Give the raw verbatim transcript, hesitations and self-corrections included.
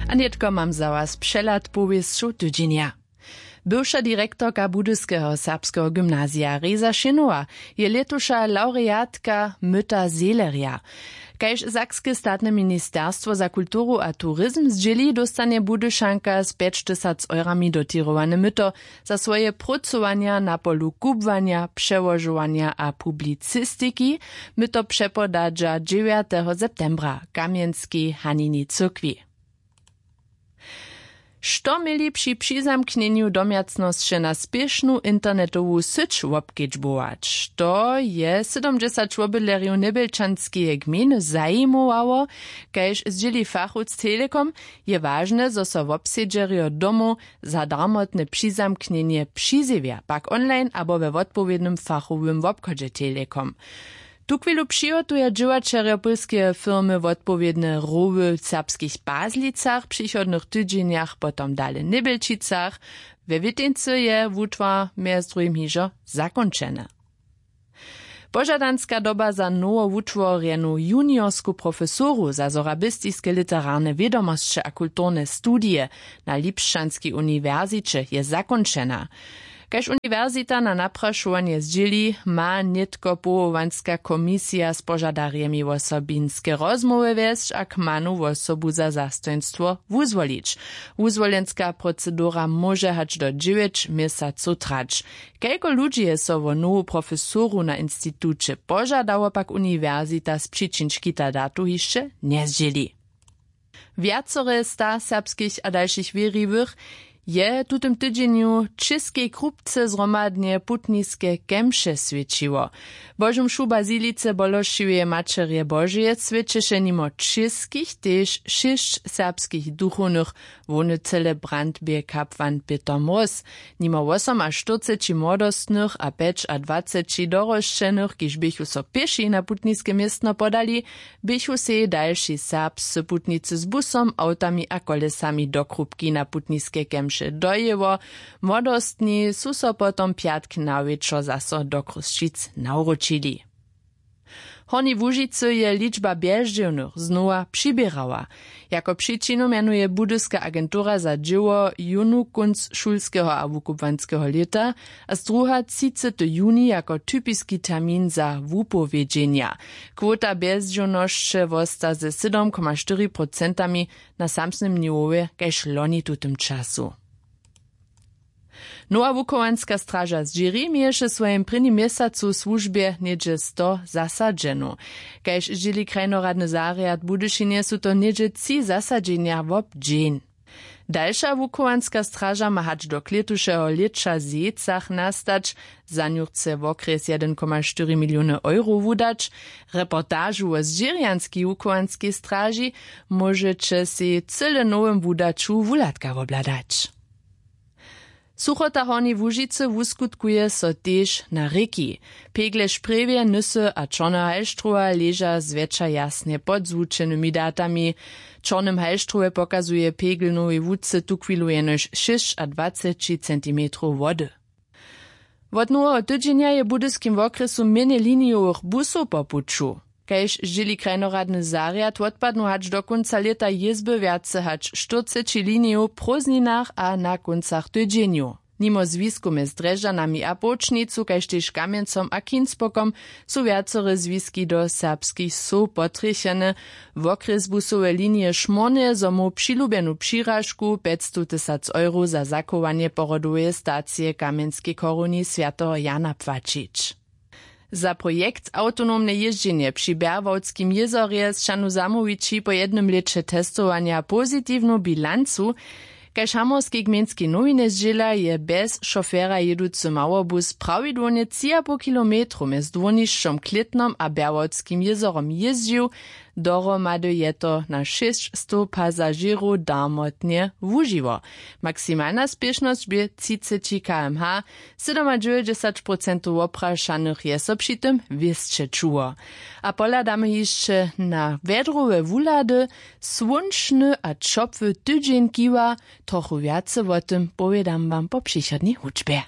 A nětko mam za was přehlad powěsćow tydźenja. Bywša direktorka budyskeho serbskeho gymnazija Reza Šěnowa je lětuša lawreatka myta Seelerja. Kaž sakske statne ministerstwo za kulturu a turizm zdźěli, dóstanje Budyšanka z pjećtysac eurami dotěrowane myto za swoje prócowanja na polu kubłanja, přełožowanja a publicistiki. Myto přepodadźa dźewjateho septembra w kamjenskej Hanini cyrkwi. Što měli při přizamknjenju domjacnosće na spěšnu internetowu syć wobkedźbować? To je sydomdźesać wobydlerjow njebjelčanskeje gmejny zajimowało. Kaž zdźěli fachowc Telekom, je wažne, zo so wobsedźerjo domow za darmotne přizamknjenje přizjewja, pak online abo we wotpowědnym fachowym wobchodźe Telekom. Tuchwilu přihotuja dźěłaćerjo pólskeje firmy wotpowědne rowy w serbskich Pazlicach, w přichodnych tydźenjach potom dale w Njebjelčicach. We Wěteńcy je wutwar mjez druhim hižo zakónčeny. Požadanska doba za nowowutworjenu juniorsku profesoru za sorabistiske literarne wědomosće a kulturne studije na Lipšćanskej uniwersiće je zakónčena. Kaž uniwersita na naprašowanje zdźěli, ma nětko powołanska komisija z požadarjemi wosobinske rozmołwy wjesć a kmanu wosobu za zastojnstwo wuzwolić. Wuzwolenska procedura móže hač do dźewjeć měsacow trać. Kelko ludźi je so wo nowu profesoru na instituće požadało, pak uniwersita z přičin škita datu hišće njezdźěli. Wjacore sta serbskich a dalšich wěriwych je w tutym tydźenju w Čěskej Krupce zhromadnje putniske kemše swjećiło. Božu mšu w bazilice Bološoweje Maćerje Božeje swjećeše nimo čěskich tež šěsć serbskich duchownych, hłowny celebrant bě kapłan Pětr Mróz. Nimo wosomaštyrceći młodostnych a pjećadwaceći dorosćenych, kiž běchu so pěši na putniske městno podali, běchu sej dalši serbscy putnicy z busom, awtami a kolesami do Krupki na putniske kemše dojěło. Młodostni su so potom pjatk na wječor zaso do Chrósćic nawróćili. W Hornjej Łužicy je ličba bjezdźěłnych znowa přiběrała. Jako přičinu mjenuje budyska agentura za dźěło jónu kónc šulskeho a wukubłanskeho lěta a zdruha třicety juni jako typiski termin za wupowědźenja. Kwota bjezdźěłnosće wosta ze sydom koma štyri procentami na samsnym niwowje kaž loni w tutym času. Nowa wuchowanska straža zdźěri měješe w swojim prěnim měsacu w słužbje něhdźe sto zasadźenow. Kaž zdźěli krajnoradny zarjad w Budyšinje, su to něhdźe tři zasadźenja wob dźeń. Dalša wuchowanska straža ma hač do klětušeho lěća w Zejcach nastać. Za nju chce wokrjes jedyn koma štyri miliony euro wudać. Reportažu wo zdźěrjanskej wuchowanskej straži móžeće sej cyle w nowym wudaću wuhladka wobhladać. Suchota w Hornjej Łužicy wuskutkuje so tež na rěki. Pegle Sprjewje, Nysy a Čorneho Halštrowa leža zwjetša jasnje pod zwučenymi datami. W Čornym Halštrowje pokazuje pegl Nowej Łucy tuchwilu jenož šěsćadwaceći centimetrow wody. Wot noweho tydźenja je w budyskim wokrjesu mjenje linijowych busow po puću. Kaž zdźěli krajnoradny zarjad, wotpadnu hač do kónca lěta jězby wjace hač štyrceći linijow w prózdninach a na kóncach tydźenjow. Nimo zwisku mjez Drježdźanami a Połčnicu kaž tež Kamjencom a Kinspokom su wjacore zwiski do serbskich wsow potrjechene. Wokrjes busowe linije šmórnje, zo móhł přilubjenu přiražku pjećstow tysac euro za zachowanje pohrodoweje stacije w kamjenskej chorowni swjateho Jana płaćić. Za projekt Awtonomne jězdźenje při Bjerwałdskim jězorje sćanu zamołwići po jednym lěće testowanja pozitiwnu bilancu. Kaž hamorskej gmejnskej nowiny zdźěla, je bjez šofera jěducy małobus prawidłownje tři a poł kilometrow mjez dwórnišćom Klětnom a Bjerwałdskim jězorom jězdźił. Dohromady je to na šěsćstow pasažěrow darmotnje wužiło. Maksimalna spěšnosć bě třiceći km/h. Sydomadźewjećdźesat procentow woprašanych je so při tym wěsće čuło. A pohladamy hišće na wjedrowe wuhlady. Słónčny a ćopły tydźeń kiwa. Trochu wjace wo tym powědam wam po přichodnej hudźbje.